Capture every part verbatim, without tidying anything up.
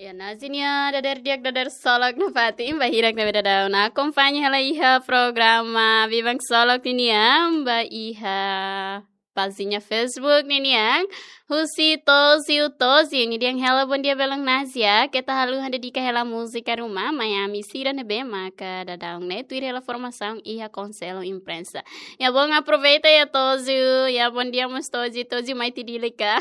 Ya, Nazi nia dader di'ak, dader ksolok nafatin ba hirak ne'ebé daudaun akompaña hela iha programa Biban Ksolok ninian ba iha pájina Facebook ninian. Husi Tozio Tozio, nia dehan: "Hello, bondia belun Nazia. Keta haluha dedika hela múzika ruma mai ami sira ne'ebé maka daudaun ne'e tuir hela formasaun iha Konsellu Imprensa." Ya, bom, aproveita ya Tozio. Ya, bondia mós Tozio, Tozio mai tiha Dili ka.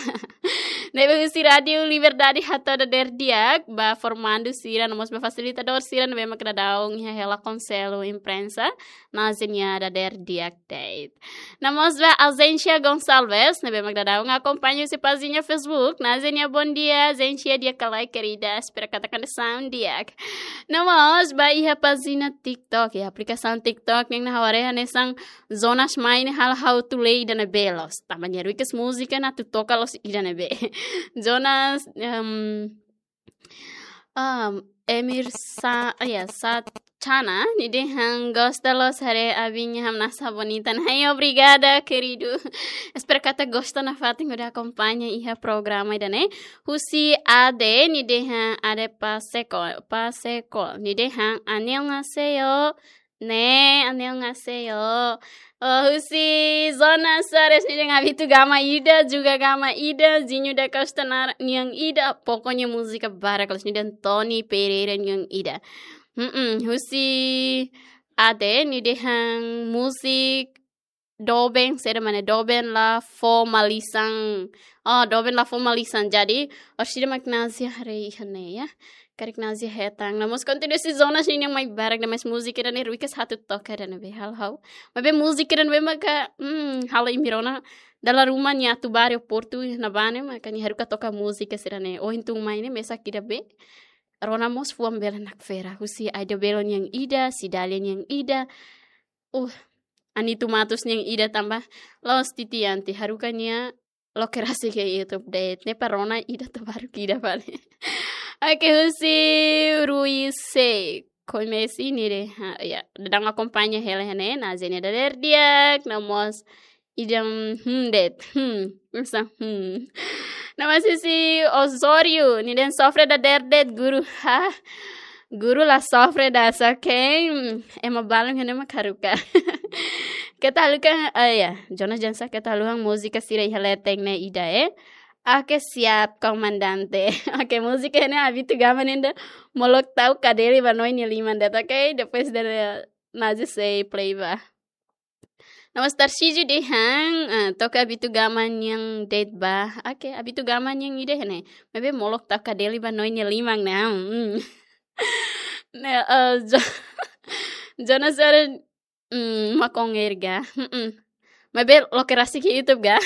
Ne'ebé husi Rádiu Liberdade hato'o dader di'ak ba formandu sira, no mós ba fasilitadór sira ne'ebé maka daudaun iha hela Konsellu Imprensa, Nazi nia dader di'ak de'it. No mós ba Ausencia Gonçalves, ne'ebé maka daudaun akompaña husi pájina Facebook, Nazi nia bondia, Ausencia, di'ak ka lae, querida, espera katak kondisaun di'ak. No mós ba iha pájina TikTok, iha aplikasaun TikTok, nia haware hanesan Jonas mai ne'e halo ha'u atu lee ida ne'ebé loos. Tanba nia ruikas múzika ne'e atu toka loos ida ne'ebé. Jonas, em, em, Emir Sa, ya, Sa Chana, nia dehan gosta loos haree abin nia hamnasa bonita. Nah, obrigada, querido. Espera katak gosta nafatin hodi akompaña iha programa ida-ne'e. Husi Ade, nia dehan Ade Paseko, Paseko. Nia dehan, "안녕하세요." Ne'e, "안녕하세요." Oh, husi Zona Sores, nia dehan habitu gama ida, juga gama ida, Zinho da Costa nar-, nian ida, pokoknya múzika barak, kalau nia dehan Tony Pereira nian ida. Mm-mm, husi Ade, nia dehan múzika doben, saida mak ne'e doben la fó malisan. Oh, doben la fó malisan. Jadi, orsida mak Nazia haree iha ne'e ya. Karik Nazia hetan. No mós kontinua husi Zona sira-ne'e mai barak demais múzika ida-ne'e ruikas atu toka ida ne'ebé halo ha'u. Maibé múzika ida ne'ebé maka, hmm, halo imi rona dala ruma nia atu bá aeroportu ne'ebá ne'e maka nia haruka toka múzika sira-ne'e. Oh, entaun mai ne'e mesak ida be. Rona mós fuan bele nakfera. Husi Aida Bello nian ida, Cidália nian ida. Uh, Anito Matos nian ida tanba la'ós titian, ita haruka nia loke rasik iha YouTube de'it. Ne'e para rona ida to'o barak ida fali. Oke, husi Rui C. Komesi nia dehan, ha, ya, daudaun akompaña hela iha ne'e, Nazia nia dader di'ak, no mós ida, hmm, de'it, hmm, usa, hmm. No mós husi Osório, nia dehan sofre dader de'it guru, ha? Guru la sofre ida, só ke, hmm, ema balun iha ne'e mak haruka. Keta haluha, ah, ya, Jonas Jansa, keta haluha múzika sira iha leten ne'e ida, eh. Oke, siap, komandante. Oke, múzika ne'e habitu gama nian ida, Molok Tau Kadeli ba Noi nia Liman de'it, oke? Depois de Nazia sei play ba. No mós Tarcísio dehan, ah, toka habitu gama nian de'it ba. Oke, habitu gama nian ida iha ne'e. Maibé Molok Tau Kadeli ba Noi nia Liman ne'e. Hmm. Ne'e, eh, Jo-, Jonas Seren, hmm, makonheiro ga. Hmm. Maibé loke rasik iha YouTube ga.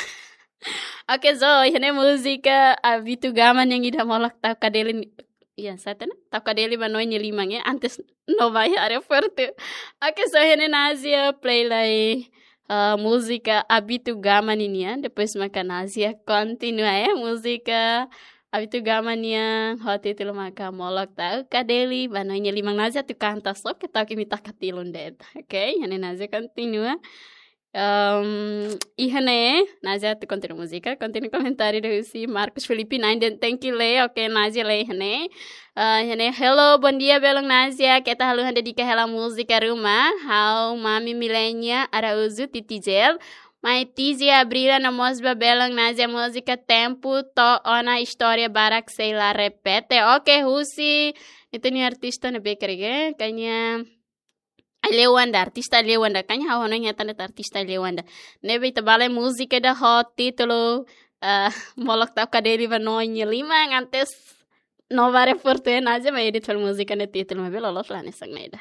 Oke, so, iha ne'e múzika habitu gama nian ida Molok Tau Kadeli ni-, ya, saida ne'e? Tau Kadeli ba Noi nia Liman, ya, antes no bá iha aeroportu. Oke, so, iha ne'e Nazia play lai, eh, múzika habitu gama ninian, depois maka Nazia kontinua, eh, múzika habitu gama nian ho títulu maka Molok Tau Kadeli ba Noi nia Liman. Nazia atu kanta, só ke tau ke imi taka tilun de'it. Oke, iha ne'e Nazia kontinua. Em, iha ne'e, Nazia atu kontinua múzika, kontinua komentáriu husi Marcos Felipe Nainden, tenke lee, oke, Nazia lee iha ne'e. Eh, iha ne'e, hello, bondia belun Nazia, keta haluha dedika hela múzika ruma, ha'u Mami Milenia Araújo Titijel, mai Tizia Abrila no mós ba belun Nazia múzika Tempu to'o ona, istória barak sei la repete. Oke, husi, ita-nia artista ne'ebé karik, eh, kayaknya Aileu Wanda, artista Aileu Wanda. Kayaknya ha'u hanoin hetan de'it artista Aileu Wanda. Ne'ebé ita bá lee múzika ida ho títulu, eh, Molok Tau Kadeli ba Noi nia Liman, antes no bá aeroportu, eh, Nazia mai edit fali múzika nia títulu, maibé loloos la hanesan ne'e ida.